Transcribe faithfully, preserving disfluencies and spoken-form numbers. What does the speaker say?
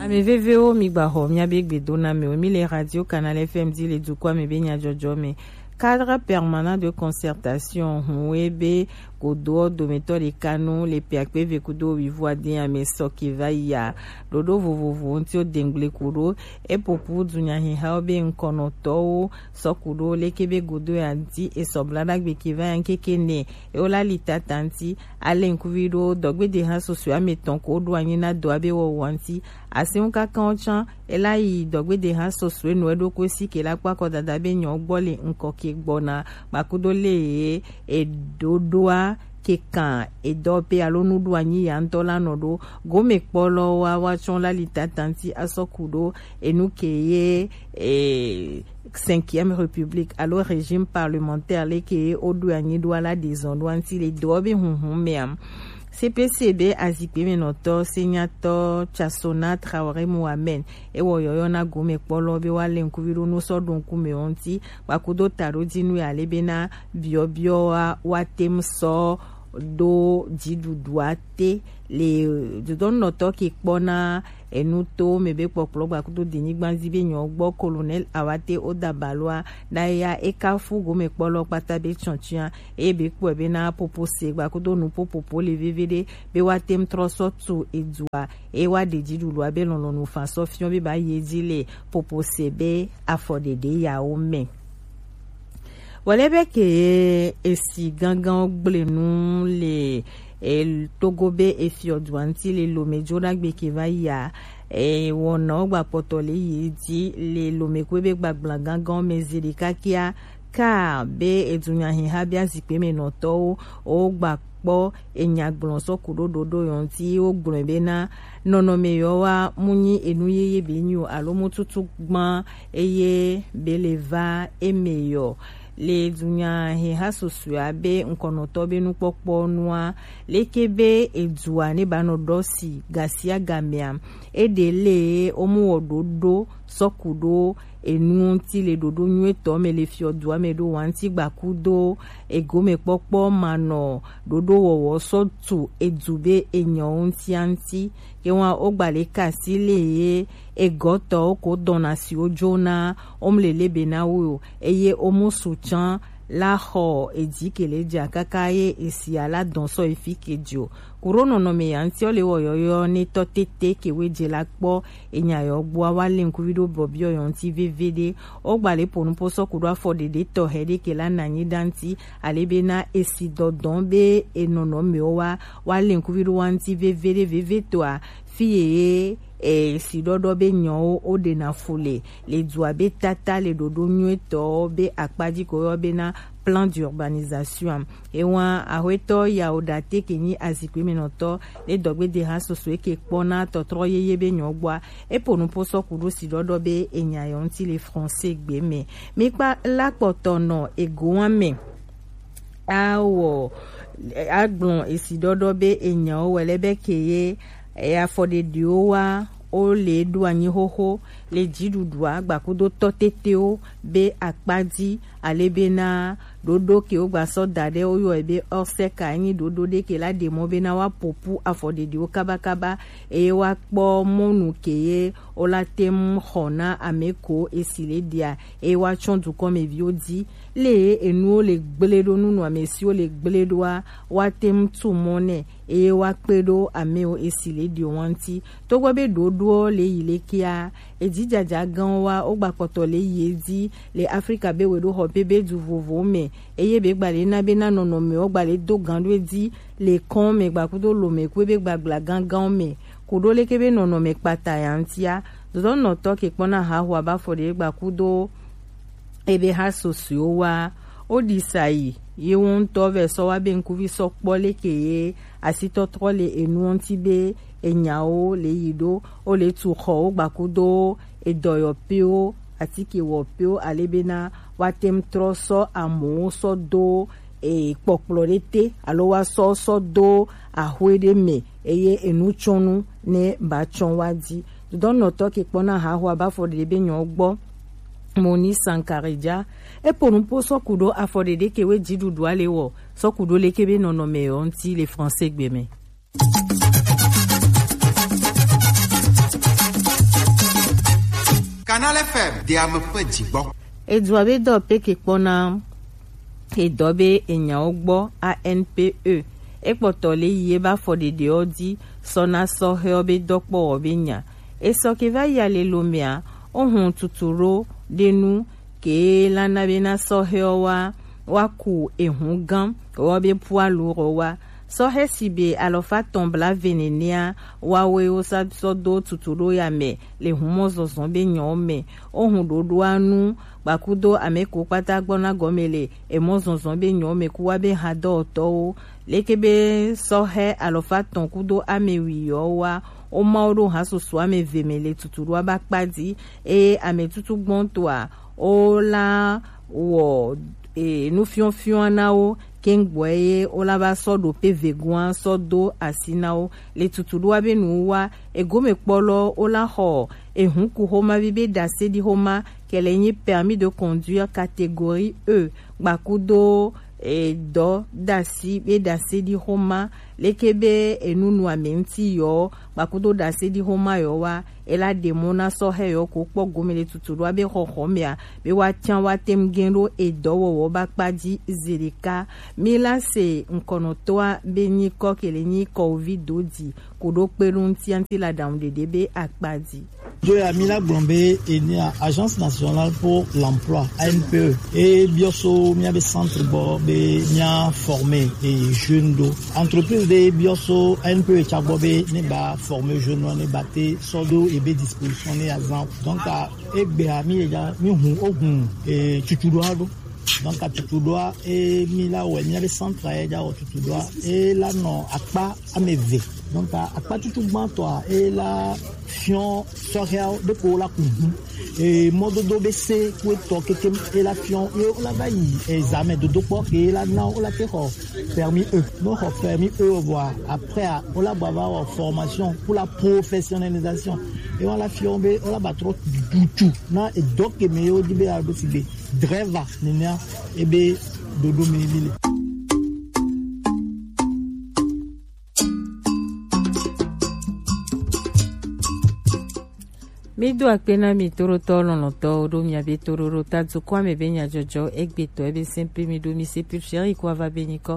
Ame vevewo, mi gba xɔ miabe gbedoname o. Mi le Radio Canal F M di le dukɔa me be nyajɔjɔ me. Cadre permanent de concertation hun e be godoɔ dometɔ ɖeka nu le pe akpe eve kudo wuivo ade ame sɔ ke va yia. Ɖoɖo vovovo ŋuti wo dengble ku ɖo epopu dunyahihawo be ŋkɔnɔtɔwo sɔ ku ɖo leke be godo ya ŋuti esɔ bla ɖagbe ke va ya ŋkeke nɛ ewo la li tata ŋuti. Ale ŋkuvi ɖo dɔgbede ha susue ame tɔn ko ɖo anyi na dɔ abe wɔwɔ ŋuti. Asi ŋu kaka wo tsã ela yi dɔgbede ha susue nu eɖokui si ke la kpɔ akɔdada be nyɔ gbɔ le ŋkɔ ke gbɔna gbakudo le ye eɖoɖoa ke kan edɔ pe alo nuɖo anyi ya ŋutɔ la nɔ ɖo gome kpɔlɔ wa wa tsɔ la li tata ŋuti asɔ ku ɖo enu ke ye e cinquième république alo régime parlementaire leke woɖo anyi ɖo ala ɖezɔn ɖo ŋuti le dɔ be hunhun mea. C P C be azikpe me nɔtɔ senyatɔ Chasona Traoré Mohamed ewɔ yɔyɔ na gome kpɔlɔ be wa le ŋkuvi ɖo nu sɔ ɖo ŋkume wo ŋuti gbakudo taɖodinu ya le be na biɔbiɔ wa wa tem sɔ ɖo dziɖuɖua te le dodɔnunɔtɔ ke kpɔna enuto me be kpɔkplɔ gbakudo denyigba zi be nyɔ gbɔ Colonel Awate Odabaloa na ya ekafu gome kpɔlɔ kpata be tsɔntsia eye be kpɔe be na popo se gbakudo nu popopo le veve ɖe be wa tem trɔ sɔ tu edua eye wa ɖe dziɖuɖua be lɔlɔnu fa sɔ fiɔ be ba ye dzi le popo se be afɔ ɖeɖe yawo me. Wale be ke esi gangan gble nu le e, Togo be efiɔdua ŋuti le Lome dzodagbe ke va yia. E, wɔnawo gba kpɔtɔ le yi dzi le Lome kue be gbagbla gangan me zi ɖeka kia ka be edunyahiha be azikpe me nɔtɔwo wo gba kpɔ enya gblɔ sɔ ku ɖo ɖoɖo yɔ ŋuti wo gblɔe be na nɔnɔme yɔ wa mu nyi enu yeye be nyi o alo mu tutu gban eye be le va eme yɔ. Le dunyahiha susua be ŋkɔnɔtɔ be nukpɔkpɔ nua leke be edua ne ba nɔ ɖɔ si gasia gamea eɖe le wo mu wɔ ɖoɖo sɔ ku ɖo enu ŋuti le ɖoɖo nyuitɔ me le fiɔdua me ɖo wa ŋuti gbakudo egome kpɔkpɔ manɔ ɖoɖo wɔwɔ sɔ tu edu be enyɔ ŋutia ŋuti. Ke wa wo gba le kasi le ye egɔtɔwo ko dɔna si wo dzona wo mu le le be na wo o eye wo mu su tsã la xɔ edzi ke le dza kaka ye esia la dɔn sɔ efi ke dzo. Kuro nɔnɔme ya ŋuti wo le wɔ yɔyɔ ne tɔ tete ke we dze la kpɔ enya yɔ gbɔa wa le ŋkuvi ɖo bɔbiɔ yɔ ŋuti veve ɖe. Wo gba le po nupo sɔ ku ɖo afɔ ɖeɖe tɔxɛ ɖe ke la na anyi ɖa ŋuti ale be na esi dɔdɔn be enɔnɔmewo wa wa le ŋkuvi ɖo wa ŋuti veve ɖe veve tɔa fi ye e si ɖɔɖɔ be nyɔwo wo ɖe na fu le le dua be tata le ɖoɖo nyuitɔ be akpadzi ko yɔ be na plan d'urbanisation. Ewa ahwetɔ yawo ɖate ke nyi azikpe me nɔtɔ le dɔgbe de ha soso eke kpɔ na tɔtrɔ yeye be nyɔ gbɔa epo nupo sɔ ku ɖo si ɖɔɖɔ be enya yɔ ŋuti le français gbe me. Mi kpa la kpɔtɔ nɔ egoa me. Awɔ agblɔ esi ɖɔɖɔ be enyawo wɛ lɛ be ke ye afɔɖeɖiwo wa wo le ɖo anyi xoxo le dziɖuɖua gbakudo tɔ tetewo be akpa dzi ale be na ɖoɖo ke wo gba sɔ da ɖe wo yɔe be ɔsɛka enyi ɖoɖo ɖe ke la ɖe mɔ be na wa popu afɔɖeɖiwo kabakaba eye wa kpɔ mɔnu ke ye wo la te ŋu xɔ na ame ko esi le ɖia eye wa tsɔ dukɔmeviwo dzi le enuwo le gble ɖo nunɔamesiwo le gble ɖoa wa te ŋu tu mɔ nɛ eye wa kpe ɖo amewo esi le ɖio wa ŋuti. Togbɔ be ɖoɖoɔ le yi le kea, edzidzaja gãwo wa wo gba kpɔtɔ le yi edzi le Afrika be weɖoxɔ pɛ be du vovowo me eye be gba le na be na nɔnɔmewo gba le do gan ɖo edzi le kɔn me gbakudo lome kue be gbagbla gãgãwo me ku ɖo leke be nɔnɔme kpata ya ŋutia. Dodɔnɔtɔ ke kpɔna haxoa ba fɔ ɖe gbakudo ebe ha sosoewo wa wo ɖi sa yi ye wo ŋutɔ vɛ sɔ wa be ŋkuvi sɔ kpɔ leke ye asitɔtrɔ le enuɔ ŋuti be enyawo le yi ɖo wo le tu xɔwo gbakudo edɔyɔpiwo atikewɔpiwo ale be na wa te ŋu trɔ sɔ amowo sɔ do e kpɔkplɔ ɖe te alo wa sɔ sɔ do axwe ɖe me eye enutsɔnu ne ba tsɔ wa dzi. Dodɔnɔtɔ ke kpɔna haxoa ba fɔ ɖe be nyɔ gbɔ Moni Sankaridza epo nupo sɔ ku ɖo afɔ ɖeɖe ke we dziɖuɖua le wɔ sɔ ku ɖo leke be nɔnɔme yɔ ŋuti le français gbe me. Canal F M de ame ƒe dzigbɔ. Edua be dɔ peke kpɔna edɔ be enyawo gbɔ A N P E. Ekpɔtɔ le yi ebe afɔɖeɖewo di sɔna sɔhɛwo be dɔkpɔwɔ be nya. Esɔ ke va yi alelomea, ohun tuturo ɖe nu ke lana be na sɔhɛwo wa wa ku ehun gã wɔ be pualu rɔ wa. Sɔhɛ si be alɔfa tɔn bla ve nenea, wawe wo sa sɔ do tutu ɖo ya me le humɔ zɔzɔn be nyɔ me. Ohun ɖoɖoa nu gbakudo ame ko kpata gbɔna gɔme le emɔ zɔzɔn be nyɔ me ku wa be hadɔtɔwo. Leke be sɔhɛ alɔfa tɔn kudo ame wi yɔ wa, wo ma wo ɖo ha susu ame ve me le tutu ɖoa ba kpa di, eye ame tutu gbɔntɔa wo la wɔ e, nufiɔfiɔa na wo keŋgbɔe ye wo la va sɔ ɖo pe vegoa sɔ do asi na wo le tutu ɖoa be nu wa egome kpɔlɔ wo la xɔ ehun ku xoma bi be ɖase ɖi xoma kɛlɛ nyi permis de conduire catégorie E gbakudo edɔ ɖasi be ɖase ɖi xoma leke be enunu ame ŋuti yɔ gbakudo ɖase ɖi xoma yɔ wa ela ɖe mɔ na sɔhɛ yɔ ko kpɔ gome le tutu ɖoa be xɔxɔ mea be wa tian wa tem gen ɖo edɔwɔwɔ ba kpa di zeɖeka. Mi la se ŋkɔnɔtɔa be nyikɔ kele nyi kɔwovi do di ko ɖo kpe ɖo ŋuti anti la ɖaŋu ɖeɖe be akpa di. Joya mi la gblɔ be enia Agence Nationale pour l'Emploi, A N P E, e biɔ so mia be centre gbɔ be mia former e jeune ɖo. Entreprise ɖe biɔ so A N P E tsa gbɔ be ne ba former jeune ne ba te sɔ do ebe disposition ne azan. Donc, a, egbea mi ye ja mi hun o hun e tutu ɖoa ɖo. Donc, a tutu ɖoa e mi la wɛ mia be centre ye ja wɔ tutu ɖoa e la nɔ akpa ame eve. Donc, a, akpa tutu gbãtɔa e la fiɔ sɔhɛawo ɖe ko la ku hu. E mɔdodo be se ku etɔ keke e la fiɔ ye wo la va yi examen dodo kpɔ ke la na wo la ke xɔ permis E. No xɔ permis E o vɔa après a wo la gba va wɔ formation pour la professionnalisation. E wa la fiɔ be wo la ba trɔ dutu na edɔ ke me ye wo di be a ɖo si be driver nenea ebe ɖoɖo me mi le. Mi do akpe na mi toɖotɔ lɔlɔ̃tɔwo ɖo miabe toɖoɖo ta dukɔa me be nyadzɔdzɔ egbetɔ ebe sɛnpe mi ɖo mi se pil fiɛri ko ava be nyikɔ.